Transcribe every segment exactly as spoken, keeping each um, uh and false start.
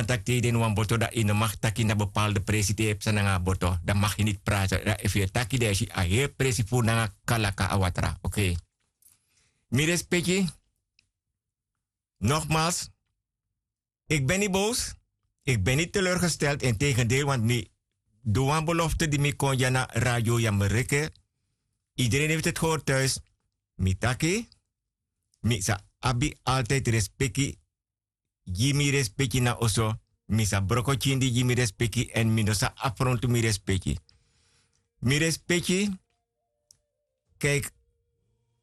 taki te yu de ini wan boto dan yu no mag taki na bepaalde presi te yu e psa nanga a boto dan mag yu niti prati dan efu yu e taki dan yu si a heri presi furu nanga kalaka a watra. Okei. Mi respeki. Nogmals, iki ben niti bowsu. Iki ben niti teleurgesteld integendeel want mi du wan belofte di mi kon dya na radio yamereke. Ideren efu teti hori tuis. Mi taki mi sa abi altidi respeki. Gi mi respeki na oso. Mi sa broko kindi gi mi respeki èn mi no sa afrontu mi respeki. Mi respeki. Kijk,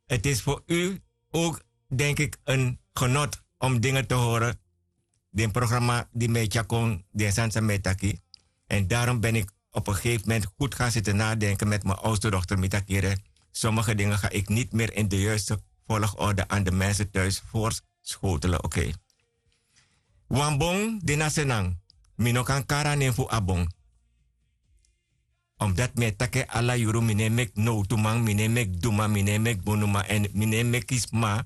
het is voor u ook denk ik een genot om dingen te horen. Den programma di mi e tyakon den sani san mi e taki. En daarom ben ik op een gegeven moment goed gaan zitten nadenken met mijn oudste dochter mi taki ere. Sommige dingen ga ik niet meer in de juiste volgorde aan de mensen thuis voorschotelen. Okei. Wan bon de na senang. Mi no kan kari a nen fu a bon. Omdat mi e taki en ala yuru mi no e meki nowtuman mi no e meki duma mi no e meki bonuman èn mi no e meki sma.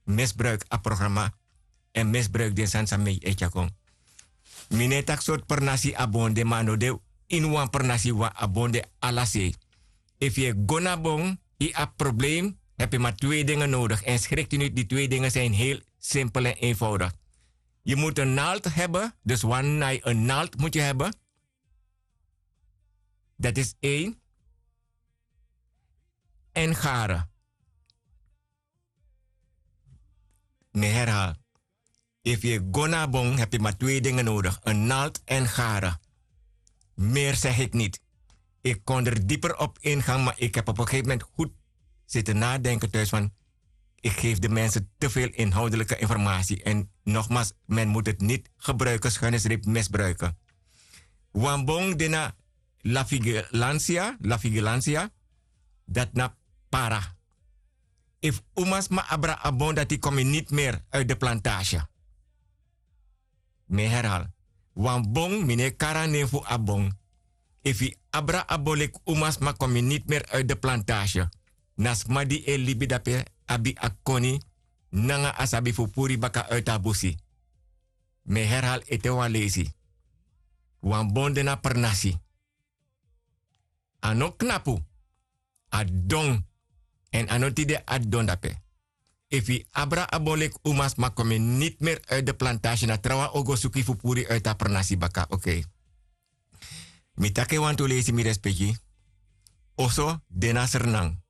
Misbruik a programa. Èn misbruik den sani san mi e tyakon. Mi no e taki sortu pernasi a bon de ma a no de ini wan pernasi wan a bon de. Ala sei. Efu yu e go na bon yu abi problem. Hebi ma twee dingen nodigi èn skrikti niti di twee dingen sin heli simpel èn eenvoudig. Yu mutu en nalt hebi. Dus wan nai en nalt mutu yu hebi. Dati is ein. Èn gare. Mi herhal. Efu yu e go na a bon hebi yu ma twee dingen nodigi en nalt èn gare. Meri segi iki niti. Iki kon der diper op ingang ma iki hebi op en gegeven moment gud. Siti nadenken tuis van iki gefi de mensen te vel inhoudelike informasi èn nogmals men mutu heti niti gebruike schuinesrepi misbruike. Wan bon de na la vigilansia la vigilansia. Dati na para. Efu umasma abra a bon dati kon mi niti meri uiti de plantasi. Mi e herhal. Wan bon mi no e kari a nen fu a bon. Efu yu abra a bon leki umasma kon mi niti meri uiti de plantasi. Na sma di e libi dape abi a koni nanga a sabi fu puru yu baka uiti a busi. Mi e herhal ete wan leisi. Wan bon de na pernasi. A no knapu. A don. Èn a no tide a don dape. Efu yu abra a bon leki umasma kon mi niti meri uiti de plantasi na trawan o go suku yu fu puru yu uiti a pernasi baka okei. Mi taki en wantu leisi mi respeki. Oso de na sernan.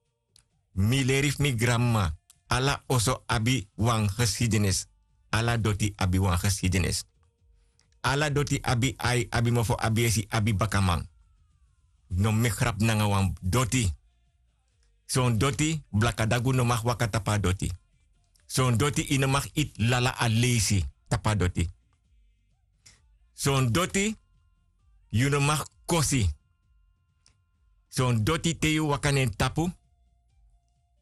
Mi leri fu mi granmama. Ala oso abi wan geskidenis. Ala doti abi wan geskidenis. Ala doti abi ai abi mofo abi esi abi bakaman. No meki grapu nanga wan doti. Son doti blakadagu no maki waka tapu a doti. Son doti yu no maki iti lala aleisi tapu a doti. Son doti yu no maki kosi. Son doti te yu waka na en tapu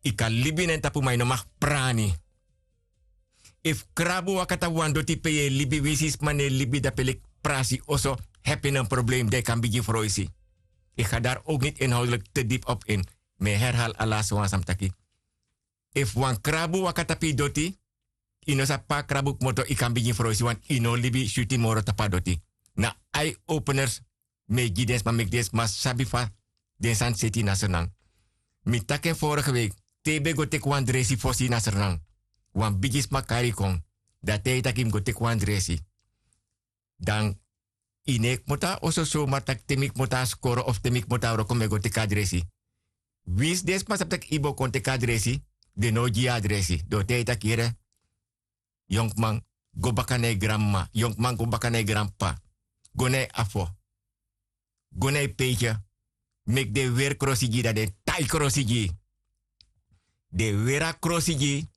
yu kan libi na en tapu ma yu no maki prani. Efu krabu waka tapu wan doti pe yu e libi winsi sma no e libi dape leki prasi oso, hepi na en problem dan yu kan bigin froisi. Yu ga dari owk niti inhoudelik te dipi op in. Mi e herhali a lasi wan san mi taki. Efu wan krabu waka tapu yu doti, yu no sabi pe a krabu kmoto yu kan bigin froisi wantu yu no o libi switi moro tapu a doti. Na ai openers mi e gi den sma meki den sma sabi fa den sani seti na sernan. Mi taki en vorige week, te yu ben go teki wan dresi fosi na sernan, wan bigi sma kari yu kon. Dan te yu taki yu mus go teki wan dresi, dan yu no e kmoto na oso somar taki te mi kmoto na skoro of te mi kmoto na wroko mi e go teki a dresi. Winsi den sma sabi tak' yu bo kon teki a dresi, den no o gi yu a dresi den o taigi yu tak' yere, yonkman, go baka na yu granmama, yonkman go baka na yu granp'pa, go na yu afo, go na yu peitye, meki den weri krosi gi yu dan den tai krosi gi yu. Den weri a krosi gi yu.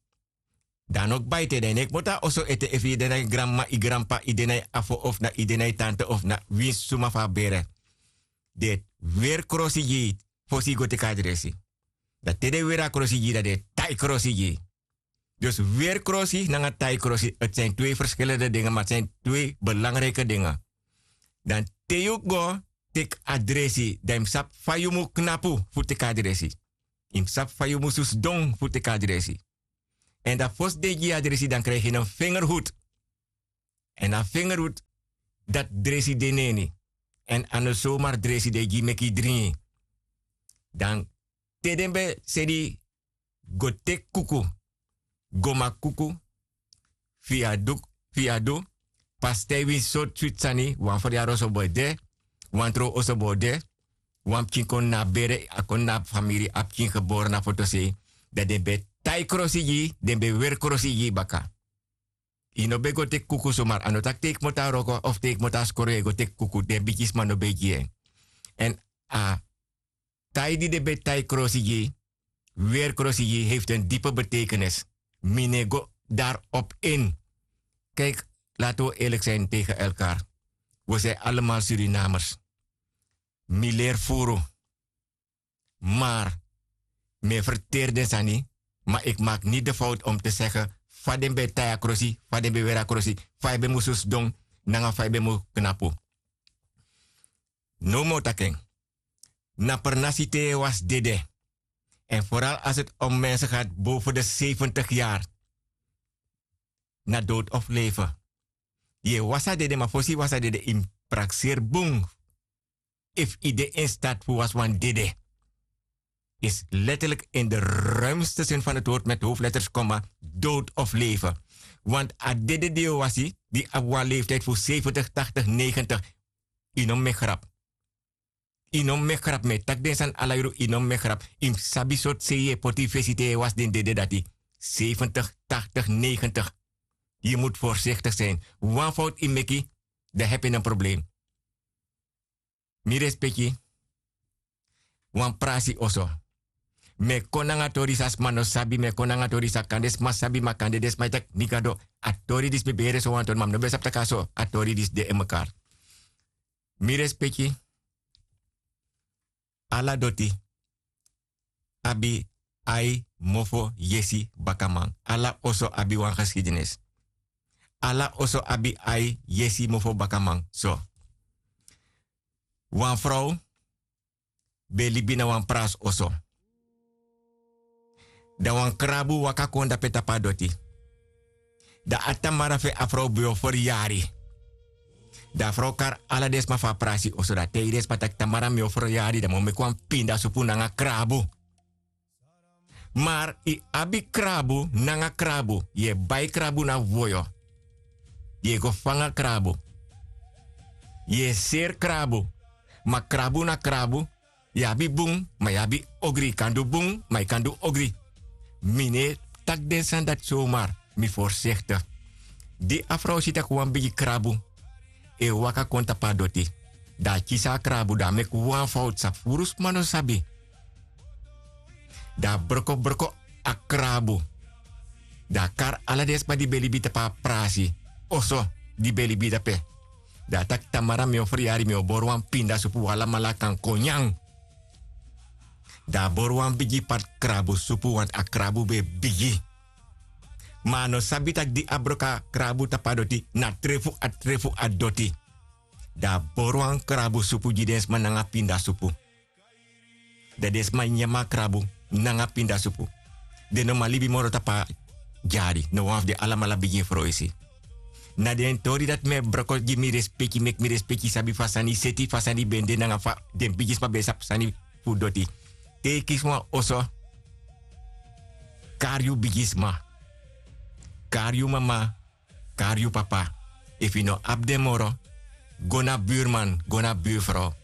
Dan a no kba ete dan yu no e kmoto na oso ete efu yu de na yu granmama yu granp'pa yu de na yu afo of na yu de na yu tante of na winsi suma fu a bere. Den weri krosi gi yu fosi yu go teki a dresi. Dan te den weri a krosi gi yu dan den tai krosi gi yu. Dus weri krosi nanga tai krosi eti sani twee ferskilende dinge ma eti sani twee belangrike dinge. Dan te yu go teki a dresi dan yu mus sabi fa yu mus knapu fu teki a dresi. Yu mus sabi fa yu mus sidon fu teki a dresi. Èn dan fosi den gi yu a dresi dan krijgi yu na fingerhut. Èn a fingerhut dati dresi de na ini. Èn a no somari dresi den e gi yu meki yu dringi. Dan te den ben seni yu go teki kuku, go maki kuku, fu yu a du, fu yu a du, pastei, winsi sortu switi sani, wan feryari oso bo de, wan trow oso bo de, wan pikin kon na a bere, a kon na a famiri, a pikin gebore na fotosei. Dan den ben e tai krosi gi yu, den ben e weri krosi gi yu baka. Yu no ben go teki kuku somari, a no taki te yu kmoto na wroko of te yu kmoto na skoro yu e go teki kuku, den bigisma no ben e gi en. Èn a tai di den ben e tai krosi gi yu, weri krosi gi yu, heifti en dipe beteikenis. Mi no e go dari op in. Kijk, laten we eerlijk zijn tegen elkaar. We zijn allemaal Surinamers. Mi leri furu. Maar mi e ferteri den sani, maar ik maak niet de fout om te zeggen fa den ben e tai a krosi, fa den ben e weri a krosi, fa yu ben musu sidon, nanga fa yu ben musu knapu. Now mi o taki en. Na pernasi te yu e wasi dede. En vooral als het om mensen gaat boven de zeventig jaar. Na dood of leven. Yu e wasi a dede, ma fosi yu wasi a dede yu mus prakseri bun. Efu yu de in staat fu wasi wan dede. Is letterlijk in de ruimste zin van het woord met hoofdletters, komma, dood of leven. Want a dede di yu o wasi, di abi wan leeftijd fu zeventig, tachtig, negentig, yu no mus meki grap. Yu no mus meki grap, mi e taki den sani ala yuru, yu no mus meki grap. Yu mus sabi sortu sei yu e poti yu fesi te yu e wasi den dede dati. Zeventig, tachtig, negentig. Yu mus voorzichtig zijn. Wan fout yu meki, dan heb je een probleem. Mi respeki, wan prasi oso. Mi e kon nanga tori san sma no sabi, mi e kon nanga tori san kande sma sabi, ma kande den sma e taki: "Mi gado, a tori disi, mi ben yere so wan tori, ma mi no ben sabi taki a so a tori disi de in mekaar." Mi respeki, ala doti abi ai, mofo, yesi, bakaman. Ala oso abi wan geschiedenis. Ala oso abi ai, yesi, mofo, bakaman. So. Wan frow ben e libi na wan prasi oso. Dan wan krabu waka kon dape tapu a doti. Dan a tamara fu en, a frow ben o feryari. Dan a frow kari ala den sma fu a prasi oso, dan a taigi den sma taki: "Tamara, mi o feryari, dan mi o meki wan pindasupu nanga krabu." Maar yu abi krabu nanga krabu. Yu e bai krabu na woyo. Yu e go fanga krabu. Yu e seri krabu. Ma krabu na krabu. Yu abi bun, ma yu abi ogri. Yu kan du bun, ma yu kan du ogri. Mi no e taki den sani dati somar. Mi voorzichtig. Di a frow si taki wan bigi krabu e waka kon tapu a doti, dan a kisi a krabu, dan a meki wan fowtu san furu sma no sabi. Dan a broko broko a krabu. Dan a kari ala den sma di ben libi tapu a prasi oso, di ben libi dape. Dan a taki: "Tamara, mi o feryari, mi o bori wan pindasupu, un alamala kan kon nyan." Dan a bori wan bigi pati krabusupu, want a krabu ben bigi. Ma a no sabi taki di a broko a krabu tapu a doti, na tre fu a, tre fu a doti. Dan a bori wan krabusupu gi den sma nanga pindasupu. Dan den sma nyan a krabu nanga pindasupu. Den no man libi moro tapu a dyari, na wan fu den alamala bigin froisi. Na den tori dati mi e broko gi mi respeki, meki mi respeki sabi fa sani seti, fa sani ben de nanga fa den bigisma ben sabi sani fu doti. Te yu kisi wan oso, kari yu bigisma, kari yu mama, kari yu papa. Efu yu no abi den moro, go na burman, go na burfrow.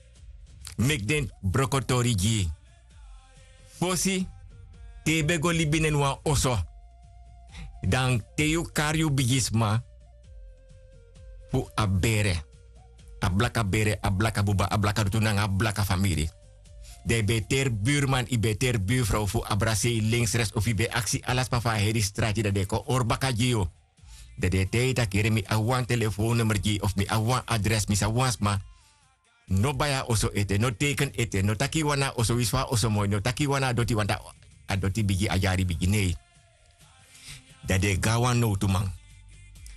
Meki den broko tori gi yu. Fosi, te yu ben go libi na ini wan oso, dan te yu kari yu bigisma fu a bere, a blaka bere, a blaka buba, a blaka dutu nanga a blaka famiri, dan yu ben e teri burman, yu ben e teri burfrow fu abra sei links, rechts, of yu ben e aksi ala sma fu a heri strati, dan den e kon hori baka gi yu. Dan den e taigi yu taki: "Yere, mi abi wan telefoonnummer gi yu, of mi abi wan adres, mi sabi wan sma." No bai a oso ete, no teken ete, no taki yu wani a oso, winsi fa a oso moi, no taki yu wani a doti, want a doti bigi, a dyari bigi, nei. Dan den e go na wan nowtuman.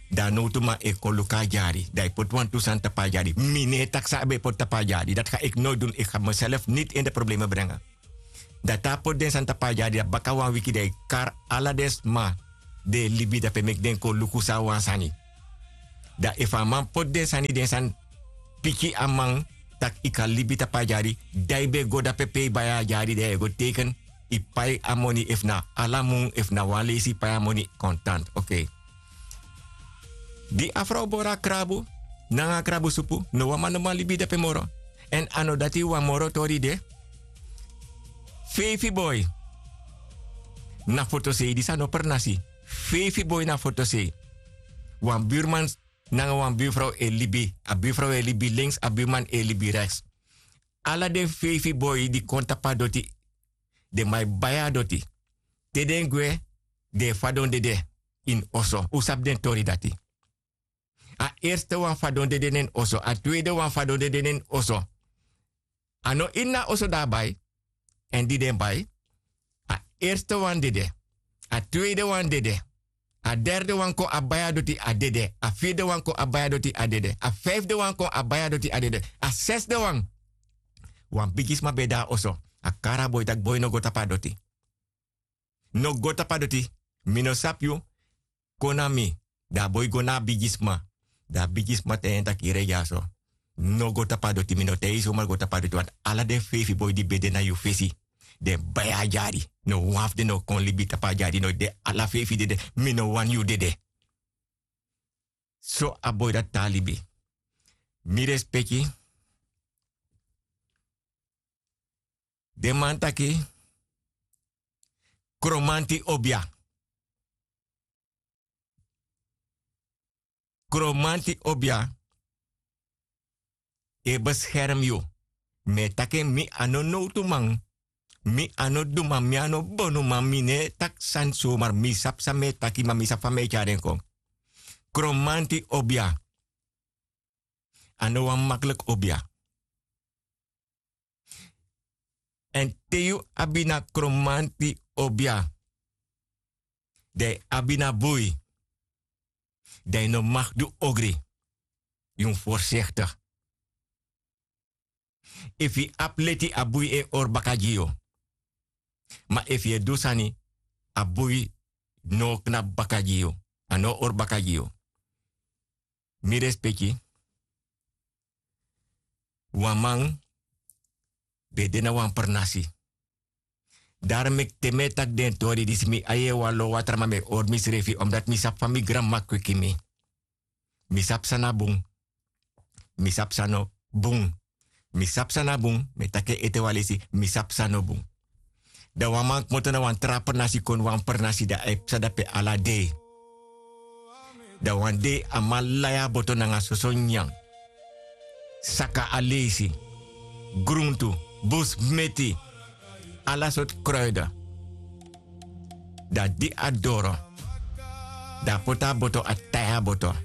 Dan a nowtuman e kon luku a dyari, dan yu poti wantu sani tapu a dyari. Mi no e taki san a ben poti tapu a dyari, dati ga ik nooit doen, ik ga mezelf niet in de problemen brengen. Dan te a poti den sani tapu a dyari, dan baka wan wiki dan yu kari ala den sma di e libi dape, meki den kon luku san a wan sani. Dan efu a man poti den sani den sani piki a man, tak' yu kan libi tapu a dyari. Dan yu ben go dape pe yu bai a dyari dan yu e go teken. Yu pai a moni efu na ala mun efu na wan leisi yu pai a moni kontant. Okei. Di a frow bori a krabu nanga a krabusupu, no wan man no man libi dape moro. Èn a no dati wan moro tori de. Feifi boi na fotosei disi a no pernasi. Feifi boi na fotosei. Wan burman nanga wan burfrow e libi. A burfrow e libi lenks, a burman e libi reks. Ala den feifi boi di kon tapu a doti, den man e bai a doti. Te den gwe, den e fadon dede ini oso. Un sabi den tori dati. A erste wan fadon dede na en oso, a tweede wan fadon dede na en oso. A no ini a oso di a bai. Èn di den bai, a erste wan dede. A tweede wan dede. A derde wan kon a bai a doti, a dede. A firde wan kon a bai a doti, a dede. A fifde wan kon a bai a doti, a dede. A sesde wan, wan bigisma ben de na oso. A kari a boi tak' boi no go tapu a doti. No go tapu a doti. Mi no sabi yu. Kon na mi. Dan a boi go na a bigisma. Dan a bigisma taigi en tak' yu redi ya so. No go tapu a doti, mi no taigi yu somar go tapu a doti, want ala den feifi boi di ben de na yu fesi, den bai a dyari. No wan fu den no kon libi tapu a dyari, no de, ala feifi dede. Mi no wani yu dede. So a boi dati tan libi. Mi respeki. Den man taki, kromanti obia. Kromanti obia e beskerm yu. Mi e taki en, mi a no nowtuman. Mi a no duman, mi a no bonuman, mi no e taki sani somar. Mi sabi san mi e taki, ma mi sabi fa mi e tyari en kon. Kromanti obia a no wan makliki obia. Èn te yu abi na kromanti obia, dan yu abi na bui, dan yu no mag du ogri. Yu mus voorzichtig. Efu yu abi leti, a bui e hori baka gi yu. Ma efu yu e du sani, a bui no o knapu baka gi yu. A no o hori baka gi yu. Mi respeki. Wan man ben de na wan pernasi. Dari meki te mi e taki den tori disi, mi ain e walo watra, ma mi e hori misrefi, omdati mi sabi fa mi granmama kweki mi. Mi sabi san na bun. Mi sabi san no bun. Mi sabi san na bun, mi e taki en ete wan leisi, mi sabi san no bun. Dan wan man kmoto na wan tra pernasi kon wan pernasi, dan a e psa dape ala dei. Dan wan dei a man lai a boto nanga soso nyanyan, saka a leisi, gruntu, bus meti, ala sortu kruiden. Dan di a doro, dan a poti a boto, a tai a boto.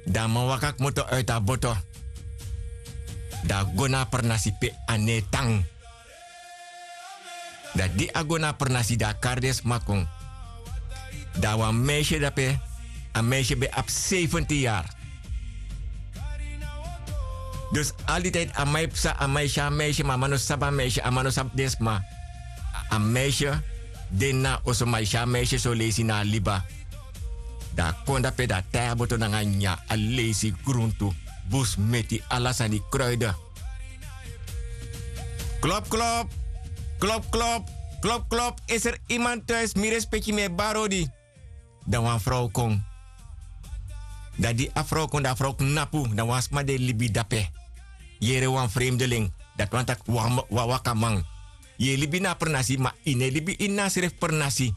Dan a man waka kmoto uiti a boto. Dan a go na a pernasi pe a no e tan. Dan di a go na a pernasi, dan a kari den sma kon. Dan a wan meisje dape, a meisje ben abi sefenti yari. Dus al di tijd a man e psa, a man e si a meisje, ma a man no sabi a meisje, a man no sabi den sma. A meisje de na oso, ma e si a meisje son leisi na a liba. Dan a kon dape, dan a tai a boto nanga nyanyan, a leisi, gruntu, bus meti, ala sani, kruiden. Klop, klop. Klop, klop. Klop, klop. Is er iemand thuis? Mi respeki, mi e bari odi. Dan wan frow kon. Dan di a frow kon, dan a frow knapu, dan wan sma di e libi dape. Yere wan fremdeling, dati wani taki wan, wan wakaman. Yu e libi na a pernasi, ma yu no e libi ini a srefi pernasi.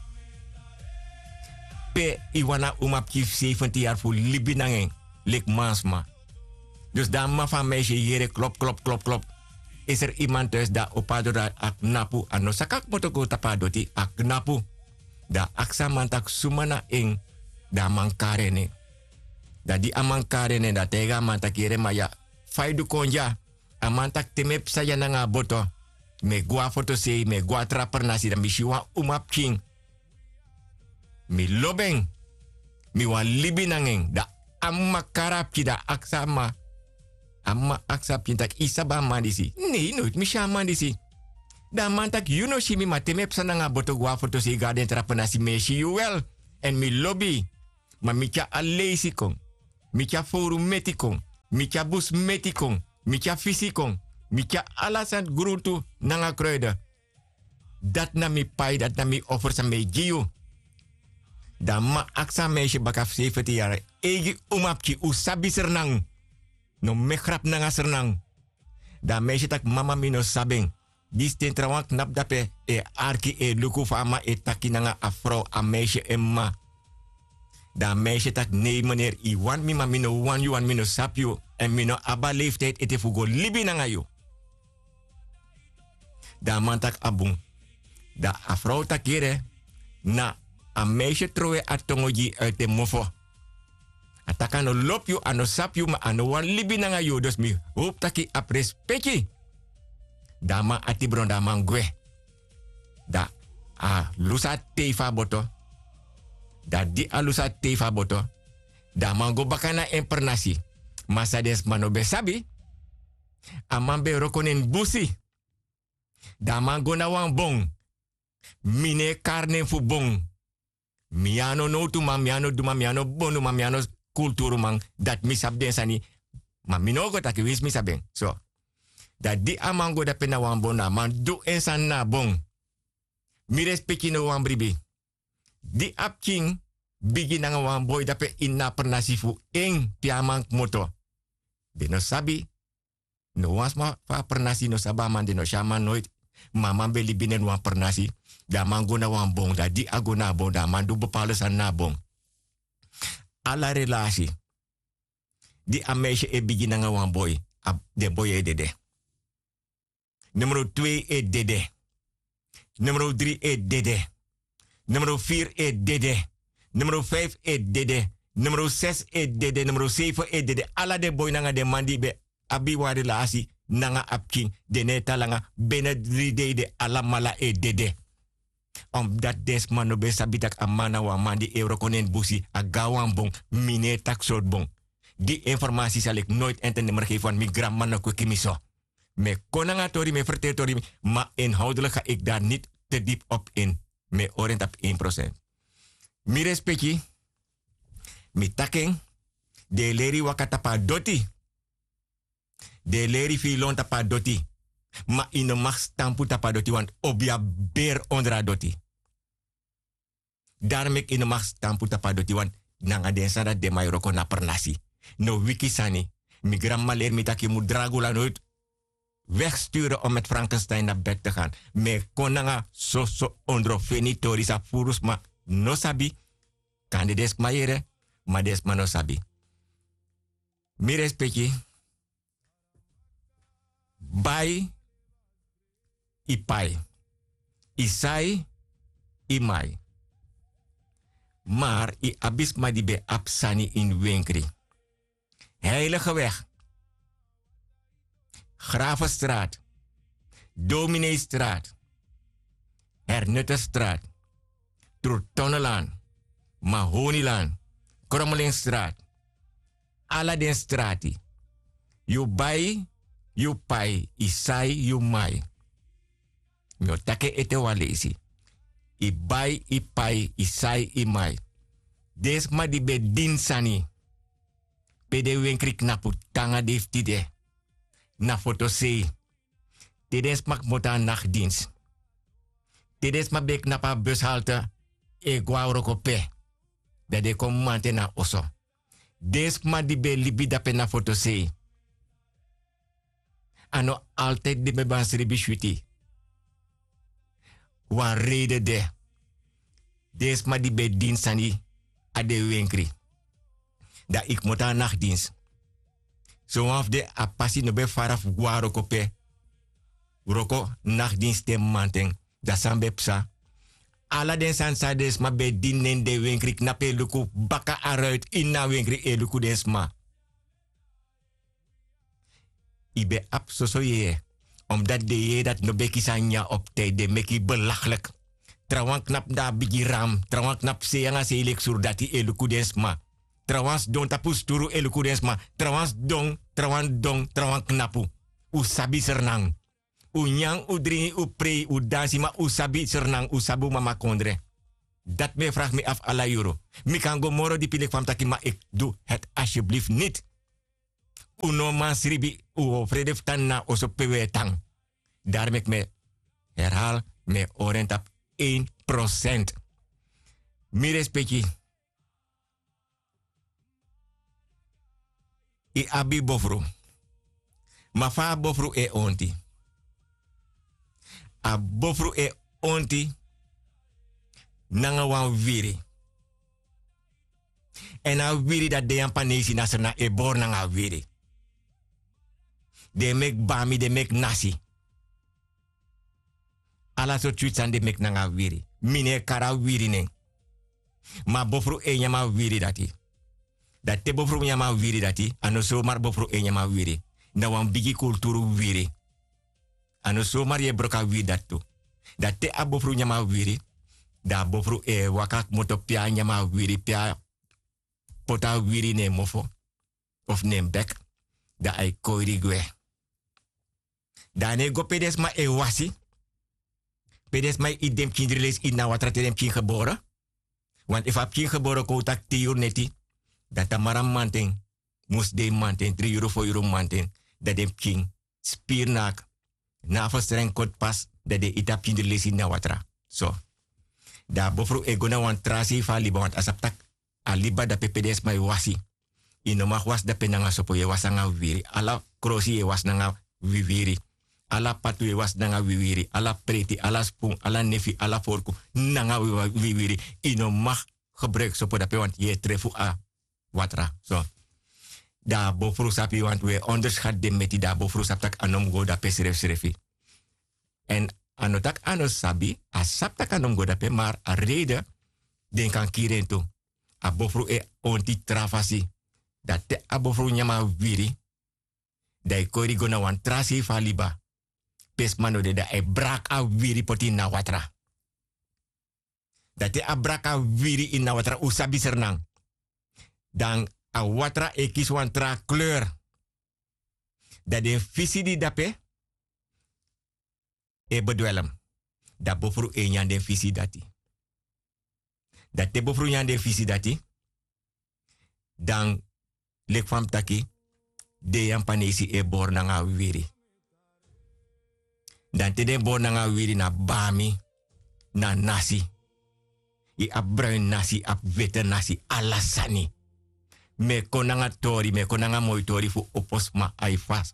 Pe yu wani a umapikin fu sefenti yari fu libi nanga en leki mansma. Dus dan a mama fu a meisje yere klop, klop, klop, klop. Is er iemand thuis? Dan a opo a doro, a knapu, a no saka kmoto go tapu a doti, a knapu. Dan a aksi a man taki suma na en. Dan a man kari en. Dan di a man kari en, dan a taigi a man taki yere man ya, fa yu du kon dya? A man taki te mi e psa dya nanga a boto, mi e gwe na fotosei, mi e gwe na tra pernasi, dan mi si wan umapikin. Mi lobi en. Mi wani libi nanga en. Dan a mama kari a pikin, dan a aksi a mama. A mama aksi a pikin taki yu sabi a man disi? Nei, noiti mi si a man disi. Dan a man taki yu no si mi, ma te mi e psa nanga a boto gwe na fotosei, gwe na den tra pernasi, mi e si yu wel. Èn mi lobi yu. Ma mi tyari a leisi kon. Mi tyari fowru meti kon. Mi tyari bus meti kon. Mi tyari fisi kon. Mi tyari ala sani gruntu nanga kruide. Dati na mi pai, dati na mi offer san mi e gi yu. Dan a man aksi a meisye baka fu sefeti yari: Eigi umapikin, un sabi srnan? No meki grapu nanga srnan. Dan a meisye taki: Mama, mi no sabi en. Disi ten trawan knapu dape e arki, e luku fa a man e taki nanga a frow, a meisye en mama. Dan a meisye taki: Nei, meneer, yu wani mi, ma mi no wani yu, wani mi no sabi yu. Èn mi no abi a leeftijd ete fu go libi nanga yu. Dan a man taki: A bun. Dan a frow taki: Yere, na a meisye trowe a tongo gi yu uit en mofo. A taki a no lobi yu, a no sabi yu, ma a no wani libi nanga yu. Dus mi howpu taki a prespeki. Dan a man ati bron, dan a man gwe. Dan a lusu a tei fu a boto. Dan di a lusu a tei fu a boto, dan a man go baka na en pernasi. Ma san den sma no ben sabi, a man ben wroko na en busi. Dan a man go na wan bon. Mi no e kari nen fu bon. Mi a no nowtuman, mi a no duman, mi a no bonuman, mi a no kulturuman. Dati mi sabi den sani. Ma mi no o go taki winsi mi sabi en. So. Dan di a man go dape na wan bon, dan a man du en sani na a bon. Mi respeki no wan bribi. Di a pikin bigi nanga wan boi dape ini a pernasi fu en pe a man kmoto, den no sabi. No wan sma fu a pernasi no sabi a man, den no si a man noiti. Ma a man ben libi na ini wan pernasi. Dan a man go na wan bon. Dan di a go na a bon, dan a man du bepaalde sani na a bon. Ala relasi, di a meisye e bigi nanga wan boi, a, den boi e dede. Numero twee e dede. Numero dri e dede. Numero vier e dede. Numero vijf e dede. Numero zes e dede. Numero zeven e dede. Ala den boi nanga den man di ben abi wan relasi nanga a pikin, den no e tan langa, binnen dri dei den alamala e dede. Omdat den sma no ben sabi tak' a man na wan man di e wroko na en busi, a go na wan bon. Mi no e taki sortu bon. Gi informasi sa leki noiti en te nemer gefi, want mi granmama no kweki mi so. Mi e kon nanga tori, mi e ferteri tori, ma inhoudelijk ga ik daar niet te diep op in. Mi e hori en tapu één procent. Mi respeki, mi taki en, den e leri yu waka tapu a doti. Den e leri yu fu yu lon tapu a doti. Ma yu no mag stampu tapu a doti, want obiya beri ondro a doti. Daarom meki yu no mag stampu tapu a doti, want nanga den sani dati den man e wroko na pernasi. No wiki sani. Mi granmama leri mi tak' yu mu dragu la noiti wegsturen om met Frankenstein naar bed te gaan. Mi e kon nanga soso ondrofeni tori san furu sma no sabi. Kande den sma yere, ma den sma no sabi. Mi respeki, bai, yu pai, yu sai, yu mai. Maar yu abi sma di ben abi sani ini wenkri. Heiligeweg, Gravenstraat, Domineestraat, Hernutterstraat, Troetonnelaan, Mahonilaan, Krommelingstraat. Ala den strati. Yu bai, yu pai, yu sai, yu mai. Mi o taki en ete wan leisi. Yu bai, yu pai, yu sai, yu mai. Den sma di ben dini sani pe den wenkri knapu te nanga dei fu tide. Na fotosei. Te den sma kmoto na nachtdienst. Te den sma ben knapu na bushalte e go na wroko pe, dan den kon mamanten na oso. Den sma di ben libi dape na fotosei. A no altijd den ben abi wan srebi switi. Wan reden de. Den sma di ben dini sani na den wenkri. Dan yu kmoto na nachtdienst. Sowan fu den a pasi no ben fara fu go na wroko pe. Wroko nachtdienst te mamanten. Dan san ben psa? Ala den sani san den sma ben dini na ini den wenkri knapu e luku baka a ruit ini a wenkri e luku den sma. Yu ben abi soso yeye. Omdat den yeye dati no ben kisi a nyanyan op tijd, den meki yu belachelijk. Trawan knapu na a bigi ram, trawan knapu sei nanga sei leki surdati e luku den sma. Trawan sidon tapu sturu e luku den sma. Trawan sidon, trawan don, trawan knapu. Un sabi Sranan. Un nyan, un dringi, un prei, un dansi, ma un sabi Sranan, un sabi un mama kondre. Dati mi e fragi mi afu ala yuru. Mi kan go moro dipi leki fa mi taki, ma eki du heti asyeblifu niti. Un no man sribi, un o frede fu tan na oso pe un e tan. Dari meki mi e herhali, mi e hori en tapu. Ein prosent. Mi respeki. Yu abi bofru. Ma fa a bofru e onti? A bofru e onti nanga wan wiri. Èn a wiri dati, den Yapanesi na Sranan e bori nanga a wiri. Den e meki bami, den e meki nasi. Ala sortu switi sani den e meki nanga a wiri. Mi no e kari a wiri nen. Ma a bofru e nyam a wiri dati. Da te bofru nyam a wiri dati, a no somari bofru e nyam a wiri. Na wan bigi kulturu wiri. A no somari yu e broko a wiri dati tu. Da te a bofru nyam a wiri, da a bofru e waka kmoto pe a nyam a wiri, pe a poti a wiri na en mofo of na en bek, da ai koiri gwe. Da a no e go pe den sma e wasi, pe den sma e iti den pikin dri leisi iti na watra te den pikin gebore. Want efu a pikin gebore kon un taki tin yuru neti, da tamara mamanten, musdei mamanten, dri yuru fo yuru mamanten, da den pikin spiri na, na a ferstrengi koti pasi, da den iti a pikin dri leisi iti na watra. So. Da a bofru e go na wan tra sei fu a liba, want a sabi taki a liba dape pe den sma e wasi. Yu no mag wasi dape nanga sopo, yu e wasi nanga wiwiri. Ala krosi yu e wasi nanga wiwiri. Ala patu yu e wasi nanga wiwiri. Ala preti, ala spun, ala nefi, ala forku nanga wi-, wiwiri. Yu no mag gebruiki sopo dape, want yu e trefu a watra. So. Da a bofru sabi, want wi e onderschat den meti, da a bofru sabi taki a no mu go dape srefsrefi. Èn a no taki a no sabi, a sabi taki a no mu go dape, maar a reden den kan kiri en tu. A bofru e onti tra fasi. Da te a bofru nyam a wiri, da yu koiri go na wan tra sei fu a liba. Pe sma no de, da ai braka a wiri poti na watra. Da te a braka a wiri ini a watra, un sabi Sranan. Dan a watra e kisi wan tra kleur. Da den fisi di dape e bedwelm. Da bofru e nyan den fisi dati. Da te bofru nyan den fisi dati, dan leki fa mi taki, den Yapanesi e bori nanga wiwiri. Dan te den bori nanga wiwiri na bami, na nasi. Yu abi bruin nasi, abi wete nasi, ala sani. Mi e kon nanga tori, mi e kon nanga moi tori fu opo sma, ai fasi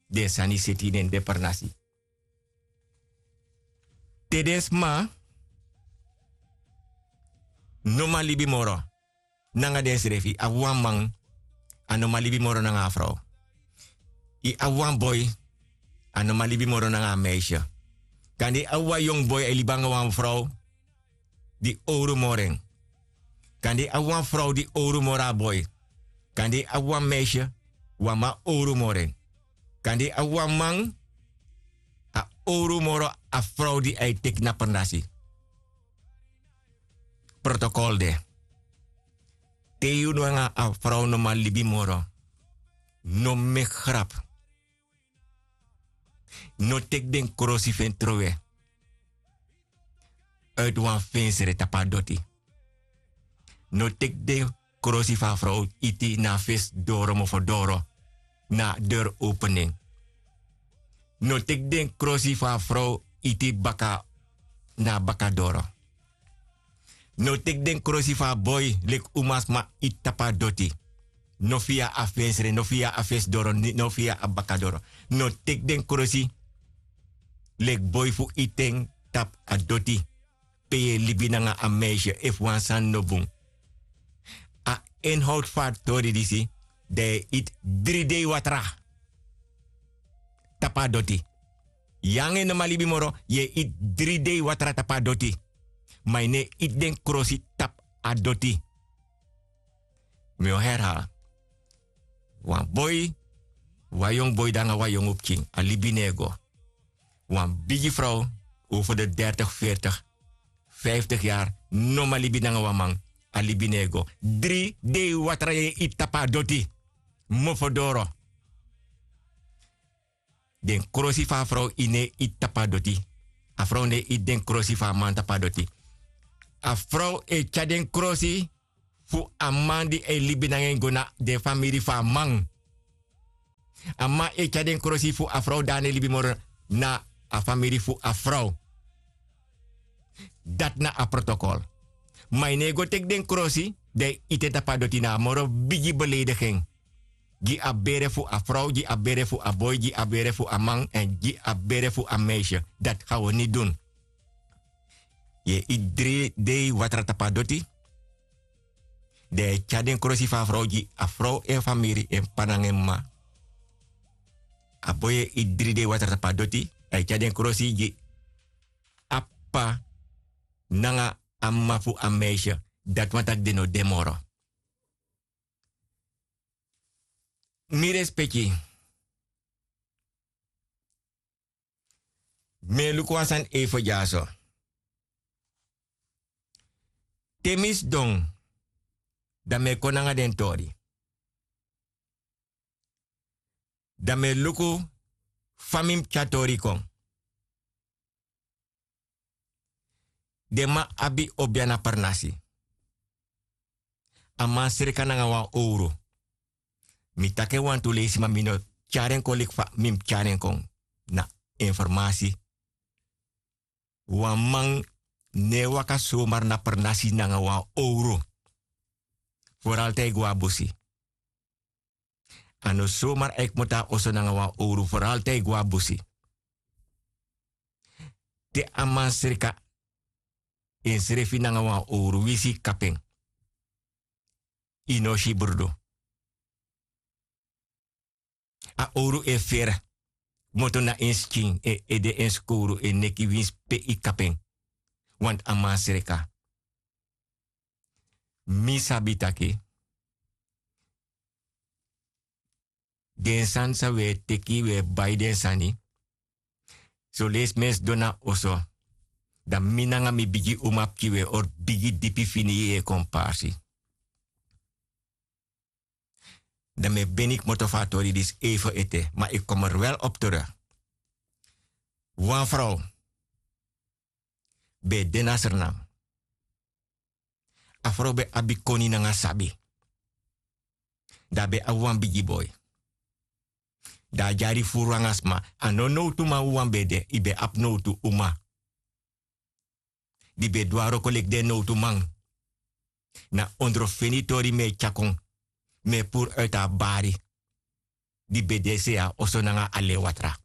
den sani seti ini den pernasi. Te den sma no man libi moro nanga densrefi, a wan man a no man libi moro nanga a frow. Yu abi wan boi, a no man libi moro nanga a meisje. Kande yu abi wan yongu boi, a e libi nanga wan frow di owru moro en. Kande yu abi wan frow di owru moro a boi. Kande yu abi wan meisje, wan man owru moro en. Kande yu abi wan man, a owru moro a frow di a e teki na pernasi. Protokol de. Te yu nanga a frow no man libi moro, no meki grap. No teki den krosi fu en trowe. Uit wan fensre tapu a doti. No teki den krosi fu a frow iti na a fesi doro, mofo doro, na a deur opening. No teki den krosi fu a frow iti baka, na a baka doro. No teki den krosi fu a boi leki umasma iti tapu a doti. No via a fensre, no via a fesi doro, ni-, no via a baka doro. No teki den krosi leki boi fu iti en tapu a doti. Pe yu e libi nanga a meisje, efu wan sani no bun. A inhoud fu a tori disi, dan yu e iti dri dei watra tapu a doti. Yu nanga en no man libi moro, yu e iti dri dei watra tapu a doti. Ma yu no e iti den krosi tapu a doti. Mi o herhaal. Wan boi, wan yongu boi nanga wan yongu pikin, a libi no e go. Wan bigi frow, over de dertig, veertig, vijftig yari, no man libi nanga wan man, a libi no e go. Dri dei watra yu e iti tapu a doti. Mofo doro. Den krosi fu a frow yu no e iti tapu a doti. A frow no e iti den krosi fu a man tapu a doti. A frow e tyari den krosi fu a man di e libi nanga en go na den famiri fu a man. A man e tyari den krosi fu a frow di a no e libi moro na a famiri fu a frow. Dati na a protokol. Ma yu no e go teki den krosi, dan yu iti en tapu a doti, na a moro bigi beleidigi en gi a bere fu a frow, gi a bere fu a boi, gi a bere fu a man èn gi a bere fu a meisye. Dati ga wi no dun. Yu e iti dri dei watra tapu a doti. Dan yu e tyari den krosi fu a frow gi a frow en famiri, en p'pa nanga en m'ma. A boi e iti dri dei watra tapu a doti, a e tyari den krosi gi a p'pa nanga a m'ma fu a meisye. Dati wani taki den no de moro. Mi respeki. Mi e luku wan sani eifen dyaso. Te mi sidon, dan mi e kon nanga den tori. Dan mi e luku fa mi mus tyari tori kon. Den man abi obia na pernasi. A man sreka nanga wan owru. Mi taki en wantu leisi, ma mi no tyari en kon leki fa mi mus tyari en kon. Na informasi. Wan man no e waka somar na pernasi nanga wan owru. Foral te a e go na busi. A no somar a e kmoto na oso nanga wan owru, foral te a e go na busi. Te a man sreka ensrefi nanga wan owru, winsi yu kapu en, yu no o si brudu. A owru e feri kmoto na en skin, en ede, en skowru, en neki, winsi pe yu kapu en. Want a man sreka. Mi sabi taki den sani san wi e teki, wi e bai den sani. Son leisi mi e sidon na oso, dan mi nanga mi bigi uma pikin wi e hori bigi dipi fini yeye kon parsi. Dan mi e beni kmoto fu a tori disi eifen ete, ma yu komer wel op terug. Wan frow ben de na Sranan. A frow ben abi koni nanga sabi. Dan a ben abi wan bigi boi. Dan a dyari furu nanga sma. A no nowtu man wawan ben de, yu ben abi nowtu uma di ben du a wroko leki den nowtu man. Na ondro feni tori mi e tyari kon, mi e puru uit a bari di ben de sei a oso nanga a lewatra,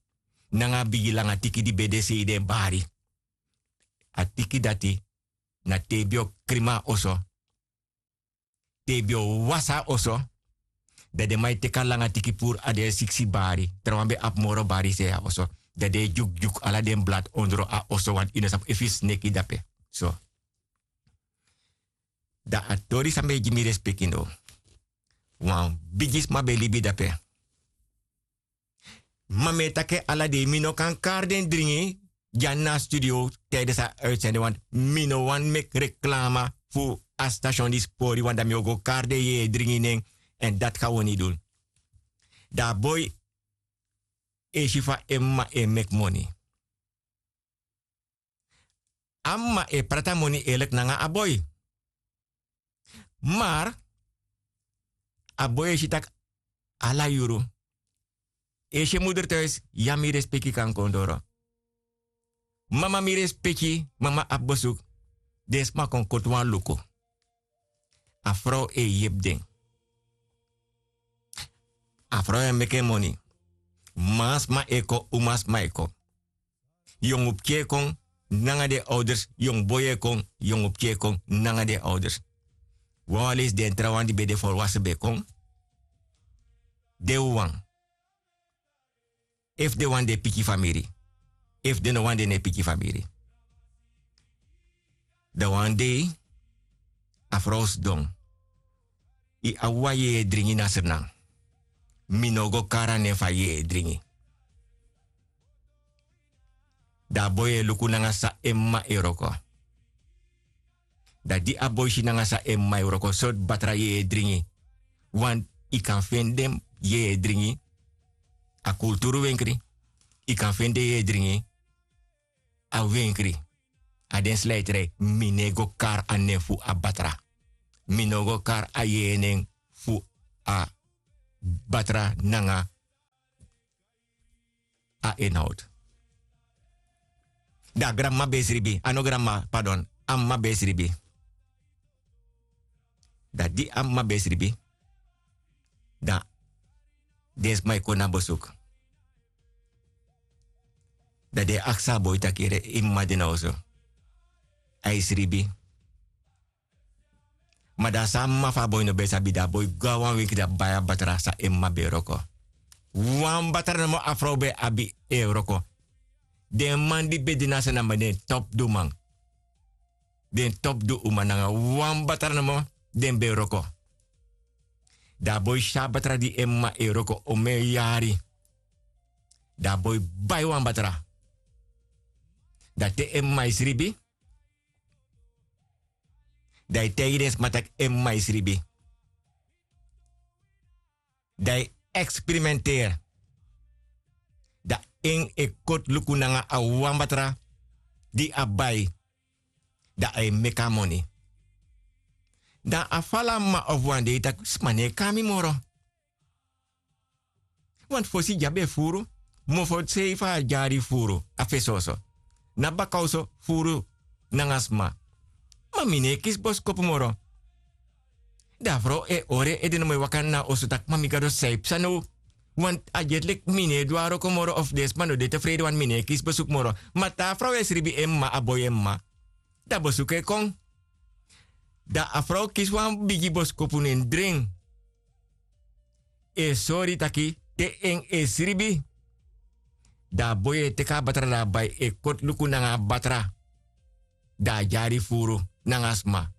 nanga a bigi langa tiki di ben de sei den bari. A tiki dati na te yu ben o krima a oso, te yu ben o wasi a oso, dan den man e teki a langa tiki puru a den siksi bari. Trawan ben abi moro bari sei a oso. Dan den e dyukudyuku ala den blad ondro a oso, want yu no sabi efu yu sneki dape. So. Dan a tori san mi e gi mi respeki now. Wan bigi sma ben libi dape. Ma mi e taki en ala dei, mi no kan kari den dringi dya na studio tijdens a uitzending, want mi no wani meki reklama fu a station di sipori, want dan mi o go kari den yeye dringi nen, èn dati kan wi no dun. Dan a boi e si fa en m'ma e meki moni. A m'ma e prati a moni eerlijk nanga a boi. Maar a boi e si taki ala yuru e si en moeder thuis, ya mi respeki kan kon doro. Mama mi respeki, mama abi bezoek. Den sma kon koti wan luku. A frow e yepi den. A frow e meki en moni. Mansma e kon, umasma e kon. Yongu pikin e kon nanga den ouders, yongu boi e kon, yongu pikin e kon nanga den ouders. Wawan leisi den trawan di ben de volwassen ben kon. Den wawan, efu den wani den piki famiri, efu den no wani den no e piki famiri. Dan wan dei a frow sidon. Yu abi wan yeye dringi na Sranan. Mi no o go kari a nen fu a yeye dringi. Dan a boi e luku nanga san en m'ma e wroko. Dan di a boi si nanga san en m'ma e wroko, sortu batra yeye dringi. Want yu kan feni den yeye dringi a kulturu wenkri. Yu kan feni den yeye dringi a wenkri. A den slijtri, mi no e go kari a nen fu a batra. Mi no go kari a yeye nen fu a batra nanga a enhowtu. Dan a granmama ben e sribi, a no granmama, padon, a mama ben e sribi. Dan di a mama ben e sribi, dan den sma e kon na besuku. Dan den e aksi a boi taki: Yere, yu mama de na oso? A e sribi. Ma dan san a mama fu a boi no ben sabi, dan a boi go na wan winkel, dan a bai a batra san en mama ben e wroko. Wan batra nomo a frow ben abi e wroko. Den man di ben de na a se namo den topduman. Den topdu uma, nanga wan batra nomo den ben e wroko. Dan a boi si a batra di en mama e wroko omeni yari. Dan a boi bai wan batra. Dan te en mama e sribi, dan a e taigi den sma taki en mama e sribi. Dan a e eksperimenteri. Dan en e koti luku nanga a wan batra di a bai. Dan a e meki a moni. Dan a fala mama ofu wan dei taki: Sma no e kon na mi moro. Want fosi dya ben e furu, mofo sei fu a dyari furu, a fesi oso. Na baka oso furu nanga sma. Ma mi no e kisi boskopu moro. Dan a frow e hori en ede nomo e waka na oso taki: Ma mi Gado, san e psa now? Want a dye leki mi no e du a wroko moro, of den sma no de tefrede, want mi no e kisi besuku moro. Ma te a frow e sribi en mama, a boi en mama, dan besuku e kon. Dan a frow kisi wan bigi boskopu nen dren. E sori taki te en e sribi, dan a boi e teki a batra, dan a bai e koti luku nanga a batra. Dan a dyari furu nanga sma.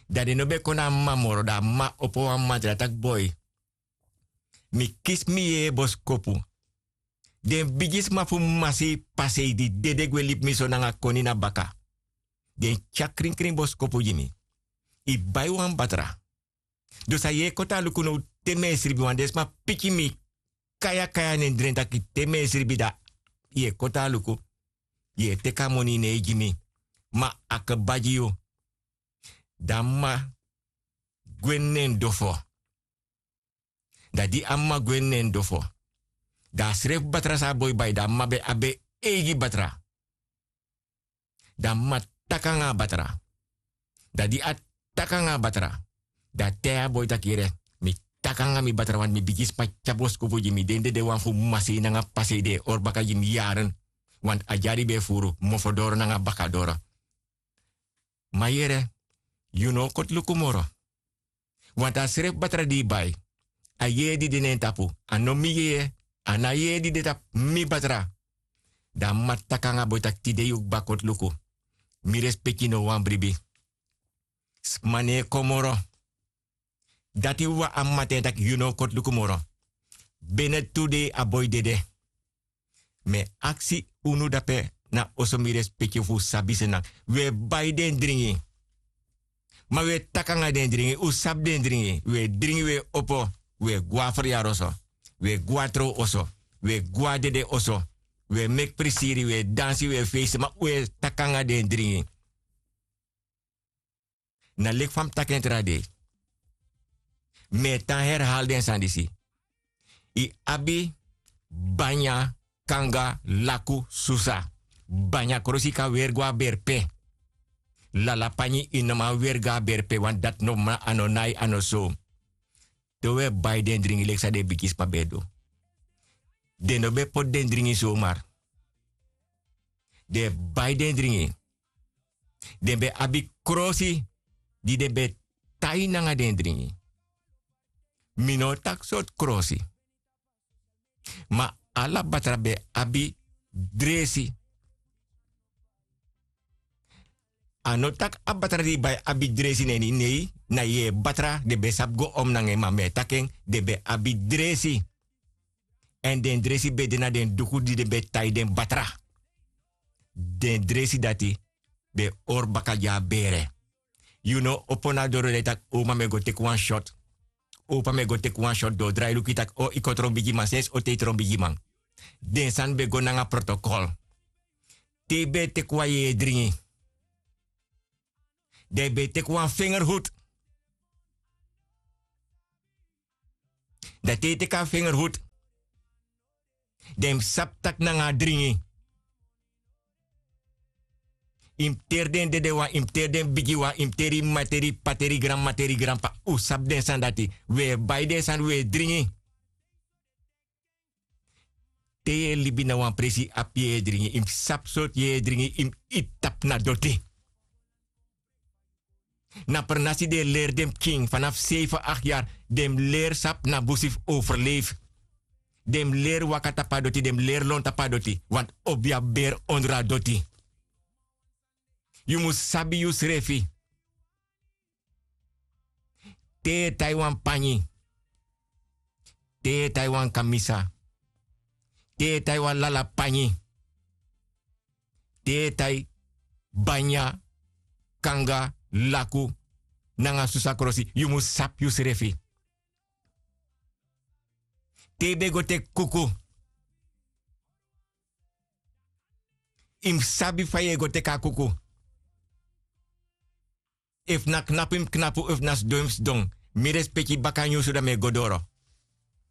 Dan den no ben kon na a mama moro, dan a mama opo wan mantra taki: Boi, mi kisi mi yeye boskopu. Den bigisma fu masei pasei di dede gwe libi mi so nanga koni na baka, den tyari krinkrin boskopu gi mi. Yu bai wan batra. Dus a yu e koti a luku now te mi e sribi, want den sma piki mi kayakaya nen dren taki te mi e sribi dan yu e koti a luku. Yu e teki a moni, yu no e gi mi. Ma a kba gi yu. Dan a mama gwe na en dofo. Dan di a mama gwe na en dofo, dan a srefi batra san a boi bai, dan a mama ben abi en eigi batra. Dan a mama taki nanga a batra. Dan di a taki nanga a batra, dan a taigi a boi taki: Yere, mi taki nanga mi batra, want mi bigisma tyari boskopu gi mi. Den dedewan fu masei nanga pasei den e hori baka gi mi yari. Want a dyari ben e furu, mofo doro nanga baka doro. Ma yere, yu no o koti luku moro. Want a srefi batra di yu bai, a yeye di de na en tapu, a no mi yeye, a no a yeye di de tapu, mi batra. Dan a mama taki nanga a boi taki: Tide yu kba koti luku. Mi respeki no wan bribi. Sma no e kon moro. Dati wawan a mama taigi en taki: Yu no o koti luku moro. Bene tu dei a boi dede. Mi e aksi unu dape na oso, mi respeki, fu un sabi sena. Un e bai den dringi. Ma un e taki nanga den dringi, un sabi den dringi. Un e dringi, un e opo, un e gwe na feryaroso, un e gwe na trow oso, un e gwe na dede oso. Un e meki prisiri, un e dansi, un e feisi, ma un e taki nanga den dringi. Na leki fa mi taki en tra dei. Mi e tan herhali den sani disi. Yu abi banya, kanga, laku, susa. Banya krosi yu kan weri go na berpe. Lalapanyi yu no man weri go na berpe, want dati no man, a no nai, a no so. Te un e bai den dringi leki san den bigisma ben e du. Den no ben poti den dringi somar. Den e bai den dringi. Den ben abi krosi di den ben tai nanga den dringi. Mi no o taki sortu krosi. Ma ala batra ben abi dresi. A no taki a batra di yu bai abi dresi na ini, nei, na yeye batra den ben sabi go om nanga en, ma mi e taki en, den ben abi dresi. Èn den dresi ben de na den duku di den ben tai den batra. Den dresi dati ben hori baka gi a bere. Yu no opo na doro dan yu taki: Oma, mi e go teki wan shot. Opa, mi e go teki wan shot. Den o drai luku yu taki: O, yu kon tron bigiman, sensi o te yu tron bigiman. Den sani ben go nanga protokol. Te yu ben e teki wan yeye dringi, dan yu ben e teki wan fingerhut. Dan te yu teki a fingerhut, dan yu mus sabi tak' nanga a dringi yu mus teri den dedewan, yu mus teri den bigiwan, yu mus teri yu m'ma, teri yu p'pa, teri yu granmama, teri yu granp'pa. Un sabi den sani dati. Wi e bai den sani, wi e dringi. Te yu e libi na wan presi abi yeye dringi, yu mus sabi sortu yeye dringi yu mus iti tapu na doti. Na pernasi den e leri den pikin fanafu seifi akti yari, den mus leri sabi na busi fu overleifi. Den mus leri waka tapu a doti, den mus leri lon tapu a doti, wantu obi abi beri ondro a doti. Yu mus sabi yusrefi. Te yu e tai wan panyi, te yu e tai wan kamisa, te yu e tai wan lala panyi, te yu e tai banya, kanga, laku nanga susa krosi, yu mus sabi yusrefi. Te yu ben go teki kuku, yu mus sabi fa yu e go teki a kuku. Efu na knapu yu mus knapu, efu na sidon yu mus sidon. Mi respeki baka nyunsu dan mi e go doro.